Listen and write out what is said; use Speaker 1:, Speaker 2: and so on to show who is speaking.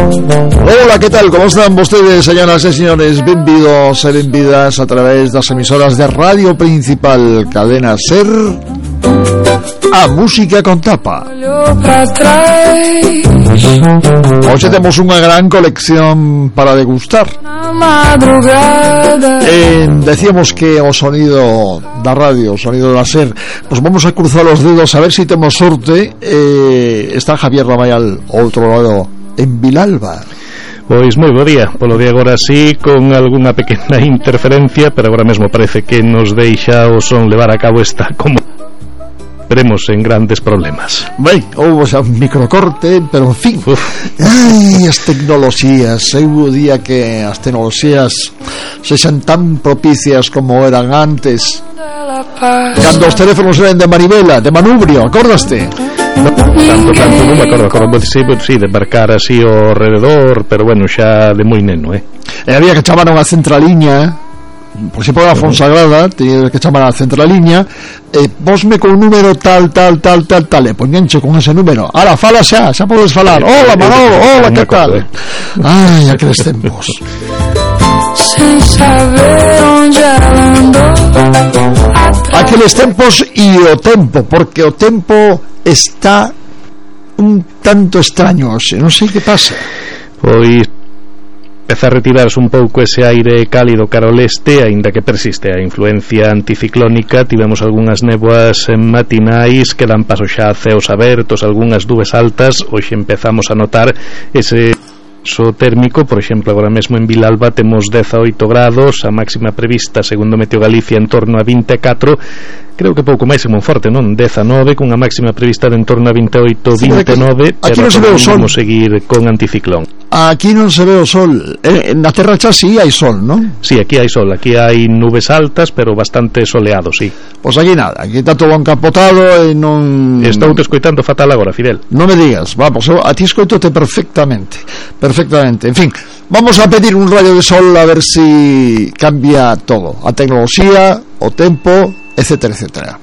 Speaker 1: Hola, ¿qué tal? ¿Cómo están vostedes, señoras e señores? Benvidos e benvidas a través das emisoras de Radio Principal Cadena Ser a Música con Tapa. Hoxe temos unha gran colección para degustar. Decíamos que o sonido da radio, o sonido da Ser, pues vamos a cruzar os dedos a ver si temos sorte. Está Javier Ramayal ao outro lado en Vilalba.
Speaker 2: Pois moi bo día, polo de agora sí, con algunha pequena interferencia, pero agora mesmo parece que nos deixa o son levar a cabo esta como veremos en grandes problemas.
Speaker 1: Ben, houve xa un microcorte, pero en fin. Ai, as tecnoloxías, eu día que as tecnoloxías sexan tan propicias como eran antes, cando os teléfonos eran de manivela, de manubrio, acordaste?
Speaker 2: Tanto, non me acordo sí, de marcar así ao rededor, pero bueno, xa de moi neno, E
Speaker 1: había que chamaron a centraliña, por si por a Fonsagrada, tiña que chamar a centraliña, posme con un número tal, e poñenche con ese número. Ahora, fala xa podes falar. Hola, Manolo, hola, que tal? Ai, aqueles tempos. Sin saber onde ela andou. Aqueles tempos e o tempo, porque o tempo está un tanto extraño hoxe, non sei que pasa.
Speaker 2: Pois empeza a retirarse un pouco ese aire cálido cara ao leste, aínda que persiste a influencia anticiclónica. Tivemos algunhas néboas matinais que dan paso xa a ceos abertos, algunhas nubes altas. Hoxe empezamos a notar ese térmico, por exemplo, agora mesmo en Vilalba temos 18 grados, a máxima prevista segundo Meteo Galicia en torno a 24. Creo que pouco máis en Monforte, non? 19, cunha máxima prevista de en torno a 28, 29,
Speaker 1: aquí non se ve o sol.
Speaker 2: Vamos seguir con anticiclón.
Speaker 1: Aquí non se ve o sol. Na Terra xa sí hai sol, non?
Speaker 2: Sí, aquí hai sol, aquí hai nubes altas, pero bastante soleado, sí.
Speaker 1: Pois aquí nada, aquí está todo encapotado e non...
Speaker 2: Estou te escoitando fatal agora, Fidel.
Speaker 1: Non me digas, vamos, a ti escoitote perfectamente. En fin, vamos a pedir un rayo de sol a ver si cambia todo, a tecnoloxía, o tempo, etcétera, etcétera.